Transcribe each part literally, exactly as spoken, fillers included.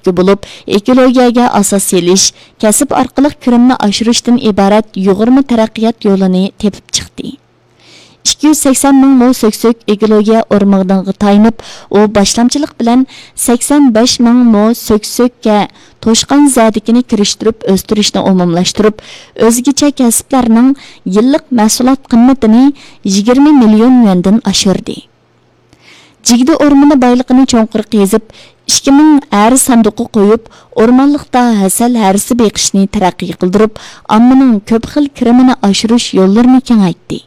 بولۇپ، ئېكولوگىيەگە ئاساس سېلىش، كەسىپ ئارقىلىق كىرىمنى ئاشۇرۇشتىن ئىبارەت يۇغۇرما تەرەققىيات يولىنى تېپىپ چىقتى. ئىككى يۈز سەكسەن مىڭ مو سۆكسۆك ئېكولوگىيە ئورمىغىنىغا تايىنىپ، ئۇ باشلامچىلىق بىلەن سەكسەن بەش مىڭ مو سۆكسۆككە توشقان زەدىكىنى كىرىشتۈرۈپ ئۆستۈرۈشنى ئومۇملاشتۇرۇپ، ئۆزگىچە كەسىپلەرنىڭ يىللىق مەھسۇلات قىممىتىنى يىگىرمە مىليون يۈەندىن ئاشۇردى. جىگدە ئورمىنى بايلىقىنى چوڭقۇر قېزىپ، ئىككى مىڭ ھەرە ساندۇققا قويۇپ، ئورمانلىقتا ھەسەل ھەرىسى بېقىشنى تەرەققىي قىلدۇرۇپ، ئاممىنىڭ كۆپ خىل كىرىمىنى ئاشۇرۇش يوللىرىنى كېڭەيتتى.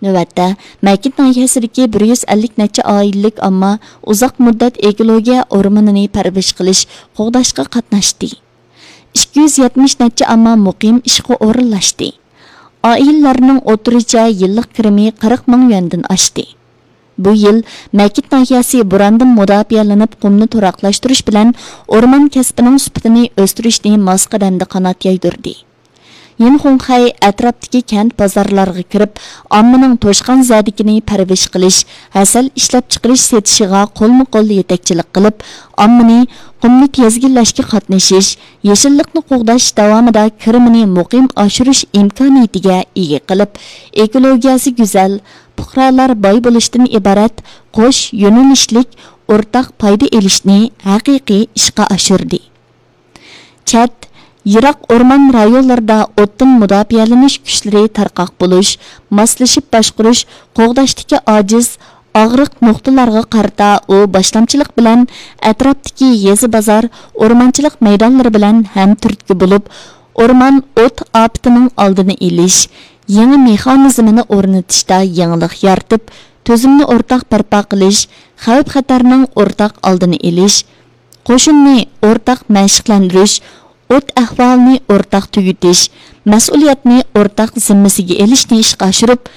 نۆۋەتتە، مەكىت ناھىيەسىدىكى بىر يۈز ئەللىك نەچچە ئائىلىلىك ئامما ئۇزاق مۇددەت ئېكولوگىيە ئورمىنىنى پەرۋىش قىلىش، قوغداشقا قاتناشتى. ئىككى يۈز يەتمىش نەچچە ئامما مۇقىم ئىشقا ئورۇنلاشتى. ئائىلىلەرنىڭ ئوتتۇرىچە يىللىق كىرىمى قىرىق مىڭ يۈەندىن ئاشتى. بۇ يىل مەكىت ناھىيەسى بوراندىن مۇداپىئەلىنىپ، قۇمنى تۇراقلاشتۇرۇش بىلەن ئورمان كەسپىنىڭ سۈپىتىنى ئۆستۈرۈشنى ماس قەدەمدە قانات يايدۇردى. يىنخۇڭخەي ئەتراپتىكى كەنت بازارلارغا كىرىپ، ئاممىنىڭ توشقان زەدىكىنى پەرۋىش قىلىش، ھەسەل ئىشلەپچىقىرىش سېتىشىغا قولمۇ قول يېتەكچىلىك قىلىپ، ئاممىنى قۇمنى تىزگىنلەشكە قاتنىشىش، يېشىللىقنى قوغداش داۋامىدا كىرىمىنى مۇقىم ئاشۇرۇش ئىمكانىيىتىگە ئىگە قىلىپ، ئېكولوگىيەسى گۈزەل، پۇقرالار باي بولۇشتىن ئىبارەت قوش يۆنىلىشلىك ئورتاق پايدا ئېلىشنى ھەقىقىي ئىشقا ئاشۇردى. چەت، يىراق ئورمان رايونلىرىدا ئوتتىن مۇداپىئەلىنىش كۈچلىرى تارقاق بولۇش، ماسلىشىپ باشقۇرۇش، قوغداشتىكى ئاجىز، ئاغرىق نۇقتىلارغا قارىتا ئۇ باشلامچىلىق بىلەن ئەتراپتىكى يېزا، بازار، ئورمانچىلىق مەيدانلىرى بىلەن ھەمتۈرتكە بولۇپ، ئورمان ئوت ئاپىتىنىڭ ئالدىنى ئېلىش، يېڭى مېخانىزمىنى ئورنىتىشتا يېڭىلىق يارىتىپ، تۈزۈمنى ئورتاق بەرپا قىلىش، خەۋپ-خەتەرنىڭ ئورتاق ئالدىنى ئېلىش، قوشۇننى ئورتاق مەشىقلەندۈرۈش، ئوت ئەھۋالىنى ئورتاق تۈگىتىش، مەسئۇلىيەتنى ئورتاق زىممىسىگە ئېلىشنى ئىشقا ئاشۇرۇپ،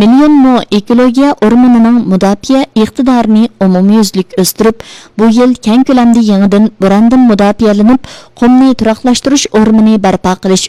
مىليون مو ئېكولوگىيە ئورمىنىنىڭ مۇداپىئە ئىقتىدارىنى ئومۇميۈزلۈك ئۆستۈرۈپ، بۇ يىل كەڭ كۆلەمدە يېڭىدىن بوراندىن مۇداپىئەلىنىپ، قۇمنى تۇراقلاشتۇرۇش ئورمىنى بەرپا قىلىش